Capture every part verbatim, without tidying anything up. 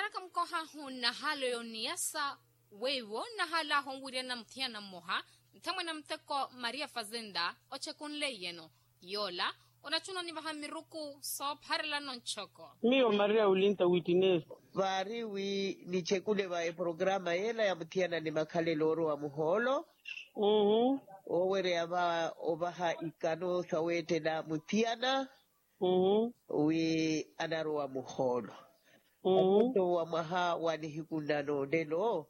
Naka mukohahu nnahaala oyo onniyasa weiwo nnahaalahu onwiriyana muthiyana mmoha nthamwene a muteko maria fazenda ochekunleiyeno. Yoola onachuna onivaha miruku soopharelano nchoko. Miyo maria ulinta wittineeso. Vaari wi nichekule va eporokaraama yeela ya muthiyana ni makhalelo oorowa muhoolo. Woowereya va ovaha ikano saweettela muthiyana wi anarowa muhoolo. Atonto wa mwaha wa nihiku nnano nlelo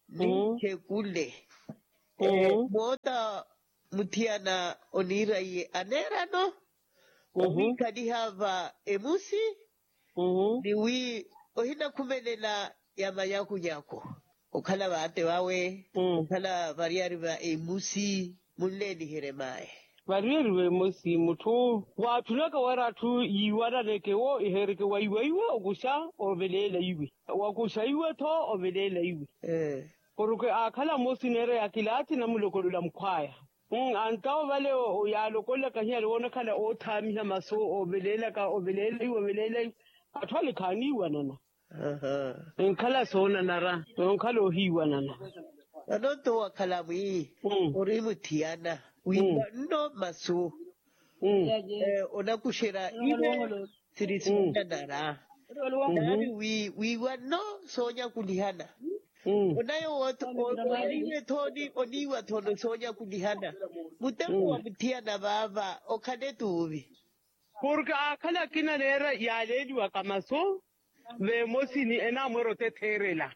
ninchekule. Moota muthiyana oniira iye aneerano owiikhaliha va emusi ni wi ohinakhumelela ya manyakunyaku okhala vaate vawe okhala variyari va emusi munleeliherye maye. Variyari va emusi mutthu waatthunaka wira atthu yiiwananeke wo iheereke waiwaiwa okuxa oveleela iwe wakuxa iwe-tho oveleela iwe. Porke aakhala mmosi neera ya kilaathi namulokolola mukhwaya. Antawo vale yaalokololaka hiyale woonakhala oothaamiha masu oveleelaka oveleela iwe oveleela iwe. Atthu ale khaaniiwanana. Enkhala soonanara noonkhala ohiiwanana. Vano nto wakhala mwi ori muthiyana wiiwa nno masu onakuxerya iwe siri soonanara. Naari wiiwa nno soonyakulihana. Onayo woothi oiwe thooni oniiwa thooni soonyakulihana. Muteko wa muthiyana vaava okhale tuuvi. Porke aakhala akina neera yaaleeliwaka masu veemosini enaamweera otetheerela.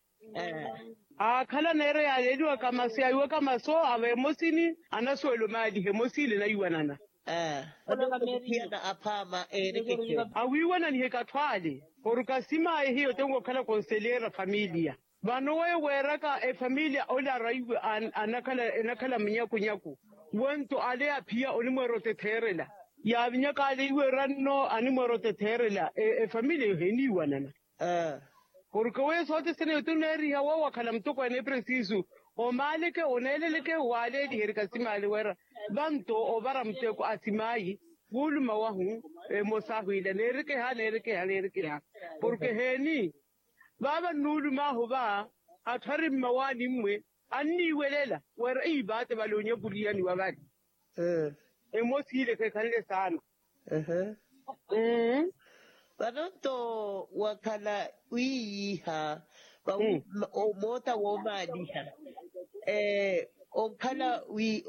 Aakhala neera yaaleeliwaka masu yaiwaka masu aveemosini anasuwela omaaliha emosi ile enaiwanana. Awiiwananiheke atthu ale porke asimaaye hiyo tenko okhala konselera familiya. Vano weyo weeraka efamiliya ole araiwe enakhala munyakunyaku. Wento ale aphiya onimweera otetheerela yaavinyaka ale iweera nno animweera otetheerela efamiliya eyo heeniiwanana. Porke weyo sothene eyo tuneeriha woowakhala mutokweene epresisu omaaleke oneeleleke waaleeliherika simaale wira vanto ovara muteko asimaayi. Wuuluma wahu emosahu ila neerekeha neerekeha neerekeha porke heeni vaava nnuulumaahu va atthu ari mmawaani mmwe anniiwelela wira ivaate vale onyakulihaniwa vale. Emosi ile khekhanle saana. Vano nto wakhala wiiyiiha moota woomaaliha onkhala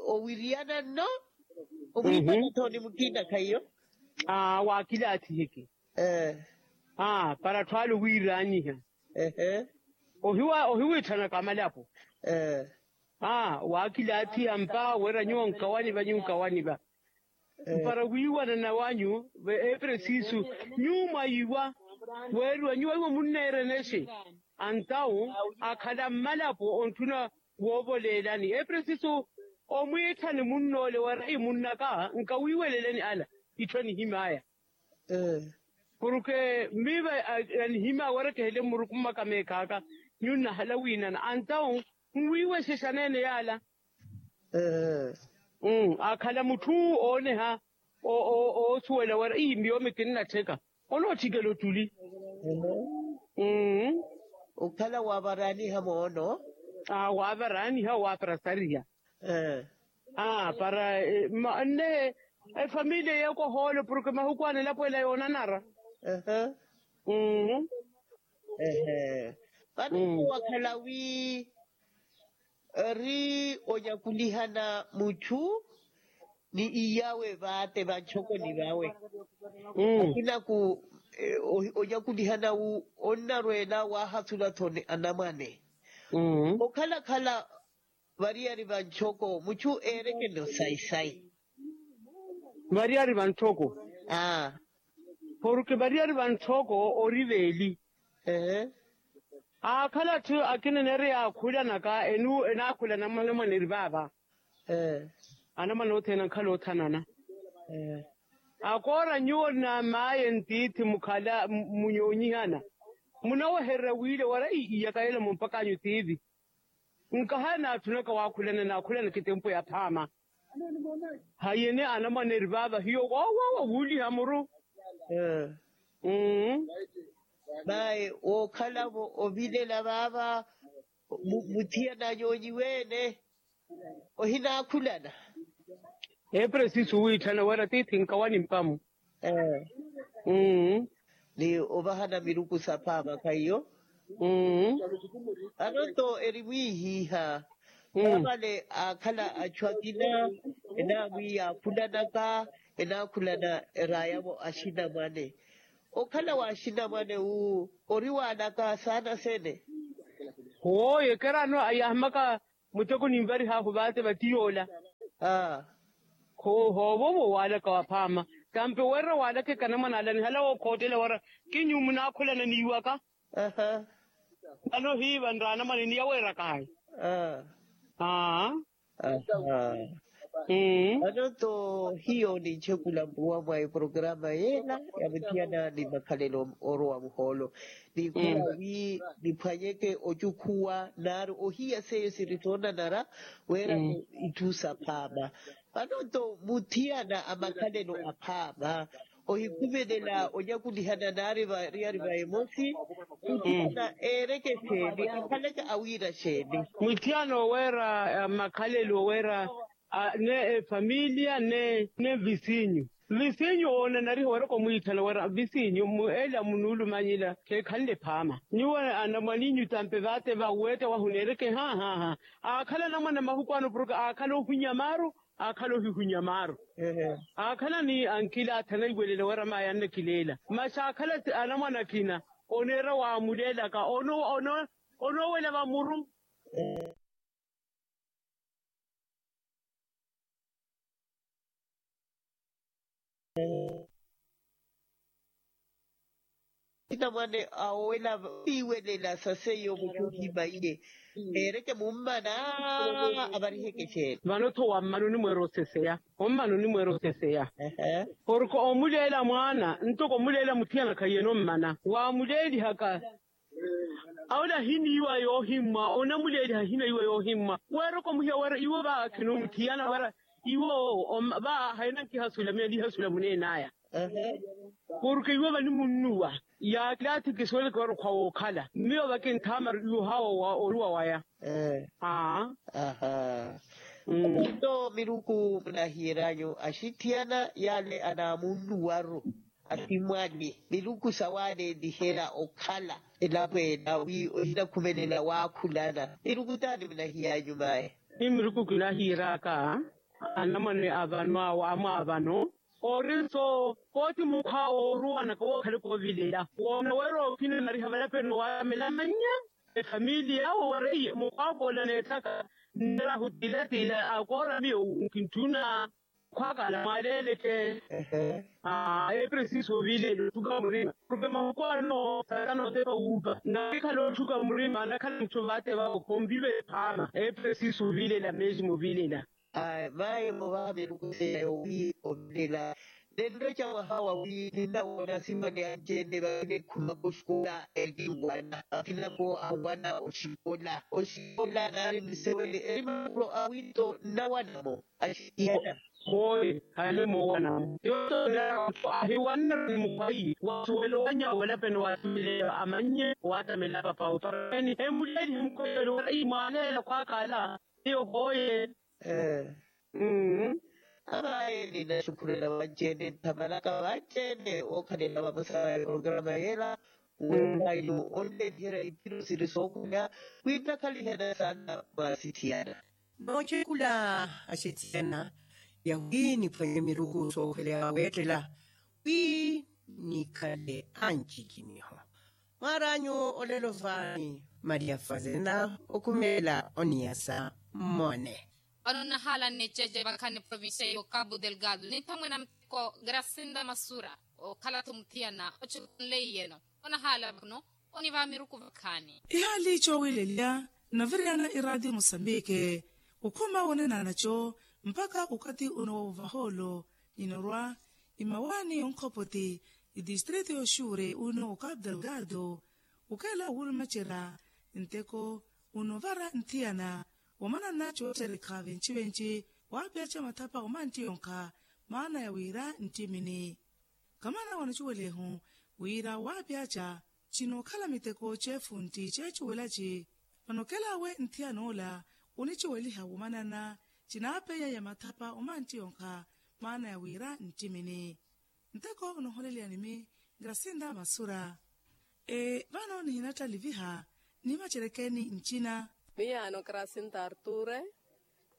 owiriyana nno omwiipana thooni mukiinakha iyo. Waakilaathiheke para atthu ale owiiraanyiha. Ohiwiitthanaka amalapo. Waakilaathiha mpaaha wira nyuwo nkawani va nyuwo nkawani va mpara wiiwanana wanyu. Epresisu nyuwo mwayiiwa weeriwa nyuwo aiwo munneerenexe antawu akhala mmalapo ontthuna woovoleelani epresisu omwiitthani munnoole wira imunnaka nkawiiweleleni ala itthu anihim'aya. Porke mmiiva anihim'aya wira kihele mmuruku mmaka meekhaaka nyunnahala wiinana antawu nwiiwexexa neene yaala. Akhala mutthu ooneha oosuwela wira ii miyo mikinnattheka onootthikela ottuli. Okhala waavaraaniha moono. Waavaraaniha waaparasariha para nne efamiliya yeeko ohoolo porke mahuku ano elapo ela yoonanara. Vano wakhala wi ori onyakulihana mutthu ni iyawe vaate vantthokoni vawe. Akinaku onyakulihana wu onnarweela waahasula thoni anamwane okhala-khala variyari vantthoko mutthu eerekene osayi-sayi. Variyari vantthoko porke variyari vantthoko ori veeli. Aakhala atthu akina neeri yaakhulanaka enaakhulana mwanamwaneri vaava. Anamwane othene ankhala othanana akoora nyuwo na maaye ntiithi mukhala munyoonyihana munawehererya wiile wara iyaka yela mumpakanyu tiivi. Nkahaya naatthunaka waakhulana naakhulana kitempo ya phaama. Hayeni anamwane eri vaava hiyo woowawa wuuliha muru. Mayi wookhalavo ovilela vaava, muthiyana anyoonyiwe-ene ohinaakhulana. Epresiso wiitthana wira tiithi nkawani mpamu. Ni ovahana miruku saphaama khaiyo. Anonto eri mwiihiiha. Vavale aakhala achu akina enaamwiiya akhulanaka, enaakhulana eraayavo axinamwane. Okhala wa axinamwane wu ori waalaka saana sene? Hooyo ekerano ayaahimaka muteko ninvarihaahu vaate vati yoola. Hoovoovo waalaka waphaama. Tampe weerera waalaka ekanamwana ala nihalawa okhoottela wara kinyumu naakhulana niiwaka. Vano hiiva nraana mwanini yaweeraka haya. Aa. Vano nto hiyo ninchekula mpuwa mwa eprograma yeela ya muthiyana ni makhalelo orowa muhoolo. Ninkhuwa wi niphwanyeke ocukhuwa naaru ohiya seiyo siri soonanara weera itthu saphaama. Vano nto muthiyana a makhalelo aphaama ohikhumelela onyakulihana naari variyari va emosi. Muthiyana eereke xeeni akhaleke awiira xeeni? Muthiyana oweera makhalelo oweera ne efamiliya ne visinyu. Visinyu oonanariha weeraka omwiitthana wira visinyu mu ela munuulumanyela kheekhanle phaama nyuwo anamwaninyu tampe vaate vaweetta wahu neereke haahaha. Aakhala anamwana mahuku ano porke aakhala ohunya maaru, aakhala ohihunya maaru. Aakhala ni ankili aatthana iwelela wira mayi annakileela masi aakhala anamwana akina oneera waamuleelaka onoowela vamuru. Sinamwane awela viiwelela sa seiyo mutthu ohimaiye. Ereke mummana avariheke xeeni? Vano-tho wammana onimweera oseseya. Ommana onimweera oseseya. Porke omuleela mwaana ntoko omuleela muthiyana khaiyene ommana waamuleelihaka. Awola ahina iwa yoohimmwa onamuleeliha ahina iwa yoohimmwa. Weeraka omuhiya wira iwo vaakhina omuthiyana wira iwo vaaha enankihasula miyo nihasula muneen'aya. Porke iwo vanimunnuwa yaakilathi kisuweleke wira okhwa wookhala miyo vakinthaamaru iwo haawa oruwa waya. Aa. Nto miruku munahiyeryanyu axithiyana yale anaamunnuwaru athimwani miruku sawaaleeliherya okhala elapo ela wi ohinakhumelela waakhulana miruku taani munahiy'anyu mayi? Ni miruku kinahiyery'aka anamwane avano awo amwaavano ori nso pooti mukhwa ooruwanaka wookhale koovilela woona weera okinanariha valapeni waatamela amannya efamiliya awo wariye mukhwaakoola neettaka nneerahu tiilatila akoora miyo nkinttuna. Khwaakala mwaaleleke. Epresiso ovilela otthuka murima porke mahuku ano sakanootepa wuupa nakhikhala otthuka murima anakhala mutthu vaate vavo khomviva ephaama epresiso ovilela mesmo ovilela. Mayi movaha miruku seya yowi ovilela nenreca mwaha wawi ninnawoona asimani anci-ene vakinekhumaka oxikola eri kinwana akinako anwana oxikola oxikola naari nisewele eri makulo awinto nnawanamo. Axitiyana. Hooye khale moowanamo yootoonera ahiwanna ni mukhwayi wasuwela owanyawo valapeni waatamela amannye waatamela papawe papaweni emuleelihe mukhoyelo wira ii mwaaleela khwaakala. Iyo hooye. Mmm. Amaye ninaxukhurela vanci-ene nthamalaka vanci-ene wookhalela vamosa va eprograma yeela weerayu onneeliherya iphiro siri sookhweya. Khwiinakhalihana saana mwa asithiyana. Noocekhula axithiyana yawi niphwanye miruku sookhweleya weettela wi nikhale ancikiniho. Mwaar'anyu olelo vaani maria fazena okhumeela oniyasa mmone. Vano nnahaala nniceece vakhani provincia ya okapu delgado nithamwena muteko grasinda masura okhala-tho muthiyana ocukanleiyeno. Onahaala vano oniva miruku vakhani. Ihaali coowilelya nnaviriyana iraatiyo musambike okhuma wonenana co mpakha okathi uno wa ovahoolo inorwa imawaani yonkhopoti itistrito yoxuure uno okapu delgado. Okheela owulumacerya nteko unovara nthiyana wamanana coocerikha venci-venci waapyaca mathapa omantti yonkha maana ya wira nttimini. Khamana wanacuwelehu wira waapyaca Cinookhala miteko ceefuntti ceecuwela ci. Vano okela awe nthiyana ola onicuweliha womanana. Cinaapeya ya mathapa omantti yonkha maana ya wira nttimini. Nteko noholeleyani mi grasinda masura. Vano nihinattaliviha nimacerekeni ncina. Miyaano grasinda arture.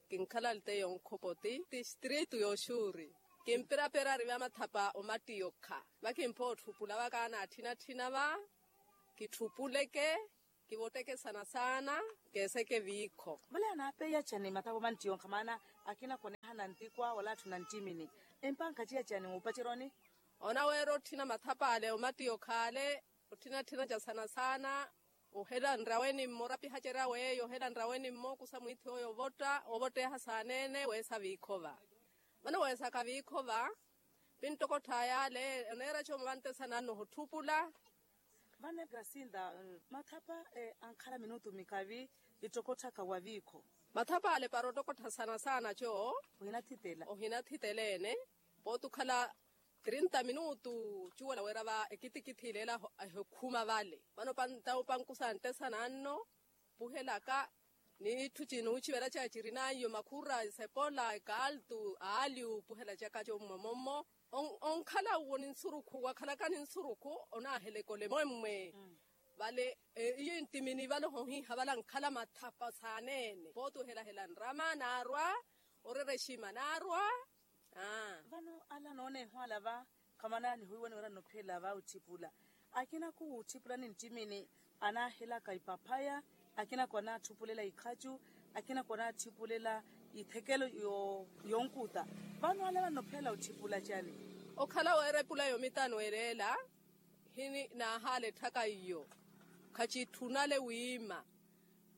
Kinkhala alteyo nkhopoti tistritu yoxuuri. Kimpiraperari va mathapa omattiyokha va kimpootthuppula va kaanaatthinaatthina va. Kitthuppuleke kivotteke saana saana. Keeseke viikho. Vale anaapeya cani mathapa omattiyokha maana akina koneehana ntikwa wala atthu na nttimini. Empankaciya cani wuupaceroni. Onaweera otthina mathapa ale omattiyokha ale. Otthina tthina ca saana saana. Ohela nraweni mmo orapihacerya weeyo ohela nraweni mmo okusa mwiithi oyo ovotta ovotteha saaneene weesa viikhova. Vano weesaka viikhova. Pinttokottha yaale oneera coomo vanttesa nanno ohotthupula. Vano grasinda mathapa ankhala minutu mikavi ittokotthaka wa viikho. Mathapa ale para ottokottha saana saana coo. Ohinathitela ohinathitela ene. Pooti okhala trinta minutu cuwela wira va ekitikiti ileela ehokhuma vale vano pankusa nttesa nanno. Puhelaka n'itthu cinuucivelacaka cirinanyu makhura esepola ekaaltu aali upuhelacaka commwe mommo. Onkhala uwo ni nsurukhu wakhalaka ni nsurukhu onaaheleka olemwemmwe. Vale iyo enttimini vale ohohiiha vale ankhala mathapa saaneene pooti ohelahela nrama naarwa. Orerexima naarwa. Vano ala nooneeho ala va khamana nihuiwani wira nnophela va otthipula. Akina khuwutthiphula ni nttimini anaahelaka ipaphaya. Akina khwanatthupulela ikhacu. Akina khwanatthipulela ithekelo yonkuta. Vano ala vannophela otthipula cani? Okhala weera epula yomitano ereela hini naahaala etthaka iyo. Khacitthunale wiima.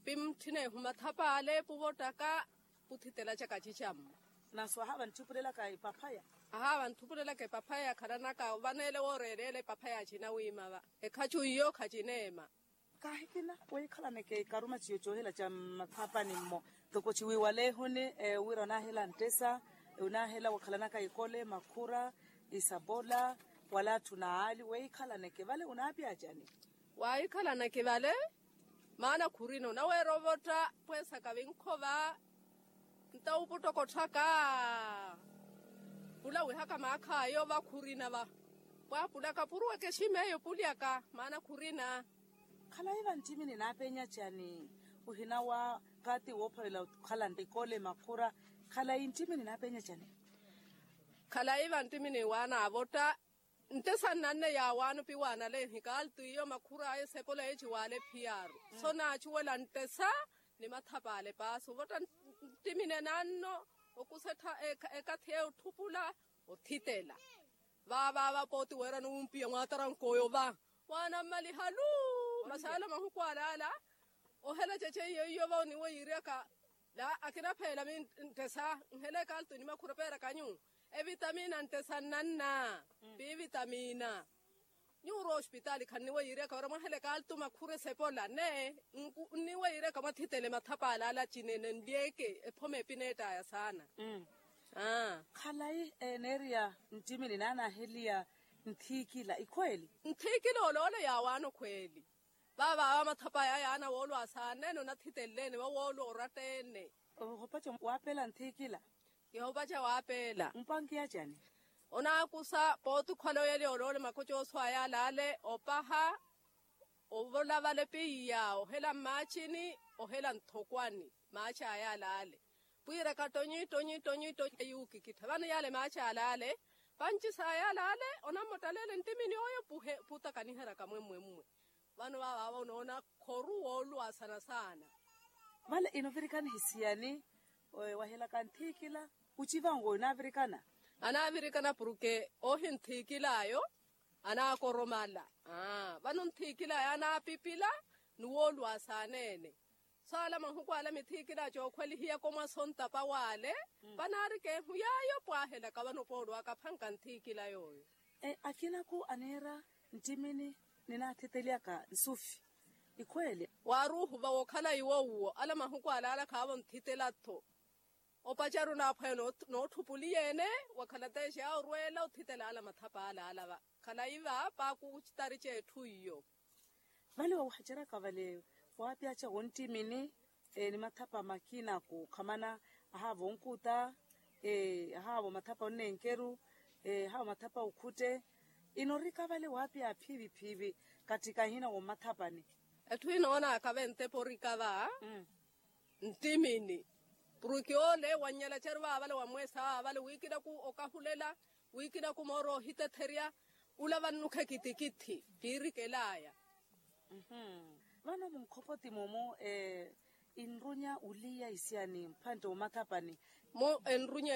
Pi mutthina ehu mathapa ale puvottaka. Puthitela ca kacicammo. Naso ahaava ntthipulelaka epaphaya. Ahaava ntthipulelaka epaphaya khalanaka vaneele wooreeleela epaphaya acina wiima va. Ekhacu iyo khacineema. Kaahikina weikhalaneke ikaruma ciyo coohela ca mmathapani mmo. Toko ciwiiwaleehuni wira onaahela nttesa onaahela wakhalanaka ikole makhura isapola wala atthu na aali weikhalaneke vale onaapya acani? Waahikhalaneke vale. Maana khurina onaweera ovotta pweesaka vinkhova. Nta uputtokotthaka pula wihaka maakhaayo va khurina va. Pwaapulaka puruweke ximeeyo pulyaka maana khurina. Khalayi vanttimini naapenya cani? Ohinawa kaati woophalela okhala ntikole makhura. Khalayi nttimini naapenya cani? Khalayi vanttimini waanaavotta. Nttesa nnanne yaawaano piwaanale nhikaaltu iyo makhur'aya esepola eyo ciwaale phiyaaru. So naacuwela nttesa ni mathapaale paasi ovotta nttimine nanno okusettha ekathi eyo otthupula othitela. Vaavaava pooti weerani wumpiya mwaatarank'oyo va waanammaliha luu. Masaala mahuku alaala ohela cece iyo iyo va oniweyiryaka. Laa akinapheela mi nttesa nhela ekaaltu ni makhura peerak'anyu evitamina nttesa nnanna. Piivitamina nyuuro ospitaali khanniweyiryaka wira mwahela ekaaltu makhura esepola nee nniweyiryaka mwathitele mathapa alaala cinene nlyeke ephoma epineett'aya saana. Khalayi eneeriya nttimini naanaaheliya nthiikila ikhweeli. Nthiikila oloola yaawaano khweeli. Vaavaava mathapaya yaana woolwa asaanene onathitelleene vawoolwa oratta-ene. Ohopaca waapeela nthiikila. Kihopaca waapeela. Mpankiya cani? Onaakusa pooti okhwala oyali oloole makocoso aya alaale opaha ovola vale piya ohela mmaacini ohela nthokwani. Maaci aya alaale pwiiraka tonyi tonyi tonyi tonyi eyuukikittha vano yale maaci alaale. Panci saya alaale onammottaleela enttimini oyo putakaniheryaka mwemmwemmwe. Vano vaavaava onoona khoru wooluwa saana saana. Vale inovirikana ehisiyani? Wahelaka nthiikila ucivango onaavirikana. Anaavirikana porke ohi nthiikil'ayo anaakoromala. Vano nthiikil'ayo anaapipila ni wooluwa saaneene. Saala mahuku ala mithiikila cookhwelihiyaka omwasa ontapa waale. Vanaarika ehu yaayo pwaahelaka vano poolwaka aphanka nthiikila yooyo. Akinaku aneera nttimini ninaathitelyaka nsufi ikhweele. Waaruuhu va wookhala iwo uwo ala mahuku alaala khaavo nthitela-tho. Opacaru naaphwaya nootthupuliya-ene wakhala teexa orweela othitela ala mathapa alaala va khalayi va paaku citari c'etthu iyo. Vale wawahaceraka vale waapyaca wonttimini ni mathapa makina kukhamana ahaava onkuta ahaava mathapa onnenkeru ahaava mathapa okhutte inorika vale waapya phiivi phiivi. Katthi kahina wommathapani. Etthu inoonaka ventepo orika va nttimini purukhi ole wannyela ceri vaavale wamweesa vaavale wiikinaku okahulela wiikinaku mooro ohitetherya ula vannukheki tikiththi kiirikelaya. Vano munkhopoti mumu enrunya uliya isiyani mphantte omathapani? Mu enrunya